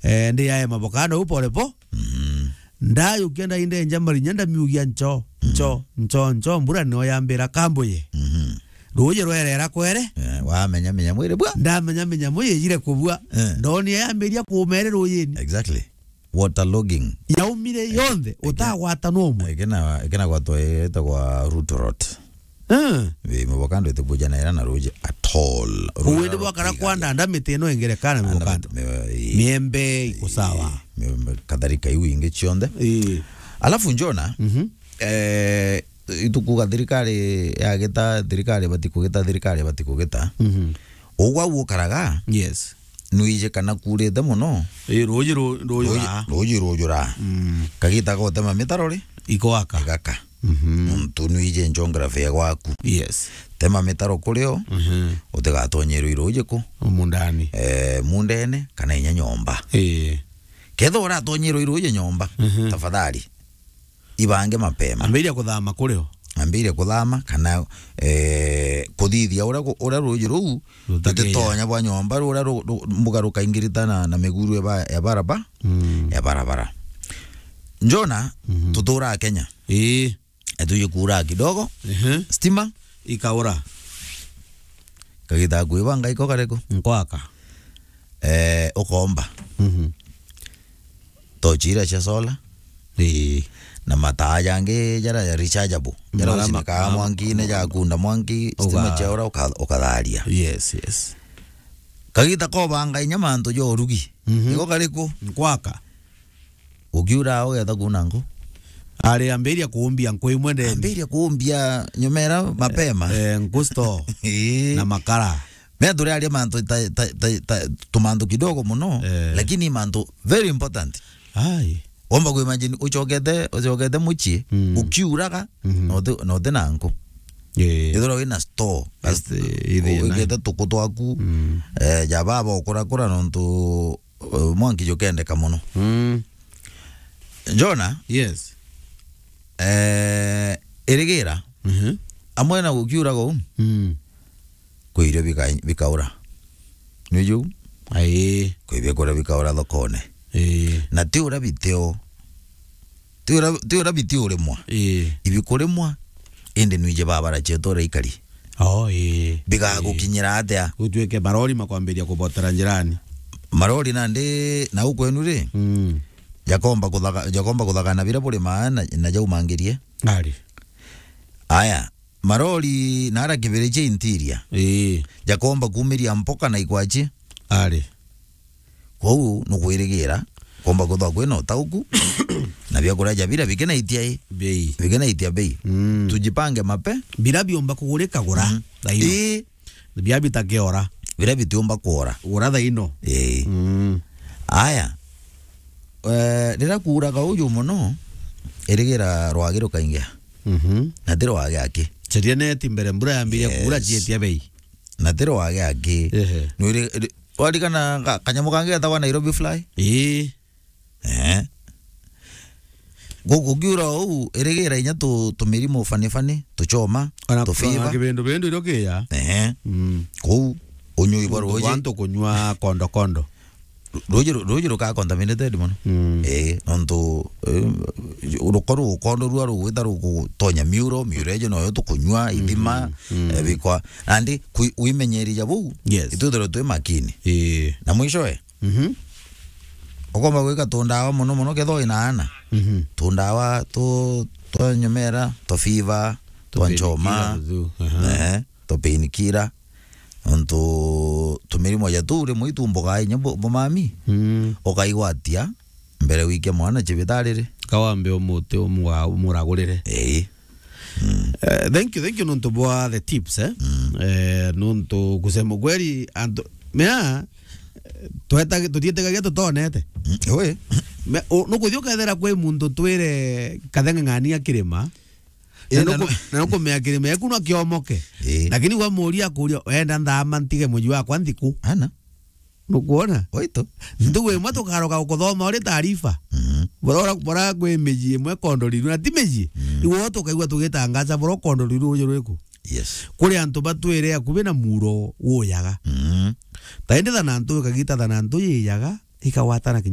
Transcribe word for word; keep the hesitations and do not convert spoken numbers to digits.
Eh, ndi yae mabokano u pole po. Mhm. Ndayukia ndaindenja marinya ndamiugia ncho, ncho, ncho, ncho, mbura nio yambira kambuye. Mhm. Ruuji rwerera kwere. Eh, wamenya menya mwiri bwa. Ndamenya menya mwiri yijire kubua. Eh. Ndoni yambiria kumere ruujini. Exactly. Waterlogging. Yaumire yonthe, utagwata no umwe. Ikena, ikena gwatwa itagwa root rot. Eh. Wi mubokando itibuja na ira na ruuji at all. Ruuji rwa bwakara kwiga kwandanda miti ino ingerekana mubokando. Miti, mi-, ii. Miembe iko sawa. Ii, miembe, kadhalika iu ingi cionthe. Ii. Alafu njona, mhm, eh, itukuga thirikari yagita, thirikari ibati kugita, thirikari ibati kugita. Mhm. Ugwa gukaraga, yes, nwije kana kurite mono. Ii, ruuji ru-, ruujura. Ruuji, ruuji ruujura. Mm. Kagita gotema mitaro ri? Igwaka. Igaka. Mhm. Nontu nwije geography ya gwaku. Yes. Tema mitaro kurio, mhm, utigatonyerwe iruuji ku? Mundani. Eh, mundene, kana inya nyomba. Ii. Ketha uratonyerwe iruuji nyomba, mhm, tafadhali, ibange mapema. Ambiria kuthama kurio. Ambiria kuthama, kana, eh, kuthithia uria ku-, uria ruuji ruu, rutakinya, rutitonya bwa nyomba, ruria ru-, ru-, mbuga rukaingirita na, na miguru ya ba-, ya baraba-, mm, ya barabara. Njona, mhm, tuturaa Kenya. Ii. Etuje kuura kidogo, ehe, stima ikaura. Kagita kwibanga iko kariku? Nkwaka. Eh, ukomba. Mhm. Tochi iria cia solar. Ii. Na mataa jangi jara ya rechargeable. Jara ucinikaa mwankine, jakunda mwanki, stima ciaura uka-, ukatharia. Yes, yes. Kagita kobanga inya mantu ja urugi. Mhm. Iko kariku? Nkwaka. Ukiura ugetha kuuna nku? Ari ambiria kuumbia nku imwe ndeni. Ambiria kuumbia nyomera mapema. Eh, nku store. Ii. Na makara. Mea turi aria mantu ta, ta, ta, ta, tumantu kidogo mono, eh, lakini mantu very important. Ai. Womba ku imagine uchokete, uchokete mucii, mm, ukiuraga, mhm, na uti-, na uti na nku. Ii. Ithira wina store. Yes, ii, ii, ii, wigite tuku twaku, mm, eh, ja baba ukurakura nontu eh, mwanki jukendeka mono. Mm. Jona? Yes. Eh, irigira. Mhm. Amwe na gukiuraga uu, mm, kwi irio bika-, bikaura. Niju? Ai. Kwi biakuria bikaura thokone. Ii. Na ti uria bitio. Ti uria, ti uria biti urimwa. Ii. Ibikurimwa, indi nwije babara cietu uria ikari. Oh, ii. Bigagukinyira atia? Gutwike marori makwambiria kubotera njirani. Marori nandi, na ukwenu ri? Mm. Jakomba kuthaga-, jakomba kuthagana biria burimaa na, na jaumangirie. Ari. Aya, marori na ara kibiri cia interior. Ii. Jakomba kumiria mpoka na ikwachi. Ari. Kwou nukwirigira, komba kuthwa kwina utauku, na biakuria ja bira bikinaitia i. Bei. Bikinaitia bei. Mm. Tujipange mape. Bira biumba kugurika gura. Mm. Thaino. Ii. Bia bitakiora. Bira bitiumba kuora. Gura thaino. Ii. Mm. Aya. Eh, riria kuuraga uju mono, irigira rwagi rukaingia. Mhm. Na ti rwagi aki. Ceria neti mbere mbura yambiria kuura, yes, cietia bei. Na ti rwagi aki. Ehe. Nwiri-, ri-, warikana ka-, kanyamu kangi getagwa Nairobi fly? Ii. Eh. Gu-, gukiura uu, irigira inya tu-, tumirimo fani fani, tuchoma, ona, ona tufiva. Kibindu bindu irio kiya. Ehe. Mm. Kuu, unyui bwa ruuji. Bantu kunywa kondo kondo. Ru-, ruuji ru-, ruuji rukaa contaminated mono. Mm. Eh, nontu, eh, ruko rugukondo rua rugwita rugutonya miuro, miuro ejo noyo tukunywa, ithima, mm, eh, bikwa. Nandi, kwi-, wimenyeri ja buu, yes, itwithirwe twi makini. Eh. Na mwishowe, mhm, ukomba gwika tundawa mono mono kethwa wina ana. Mhm. Tundawa tu-, twa nyomera, twa fiva, twa nchoma. Tupainkiller tu, aha. Eh, twa painkiller. Nontu tumirimo ja tuu rimwe itumbukaa inya bu-, bumami. Mm. Ukaigwatia mbere wikia mwana cibitari ri. Kawambe umuti umwa-, umuragurire. Ii. Mm. Eh, thank you, thank you nontu bwa the tips, eh? Mm. Eh, nontu kusema kweli, antu, mea, eh, tweta-, tutietekagia tutonete. Mm, ui. Me-, u-, nukuthi ukethira kwi muntu twire katheng'ang'ania kirima, na, ii, na nuku-, nu- na nukumea kirima eku no kiomoke. Ii. Lakini wamuria akuria, "Wenda nthama ntige muji wakwa nthiku?" Ana. Nukwona? Oito. Ntugu imwe tukaroka gukuthoma uri taarifa. Mhm. Bora, bora kwi miji imwe kondo riru, na ti miji. Mhm. Iwe tukaigua tugitangaca bora kondo riru uju rwiku. Yes. Kuri antu batwire akubi na muro wuyaga. Mhm. Ta indi thanantu ikagita thanantu yiyaga, ikagwatana kinya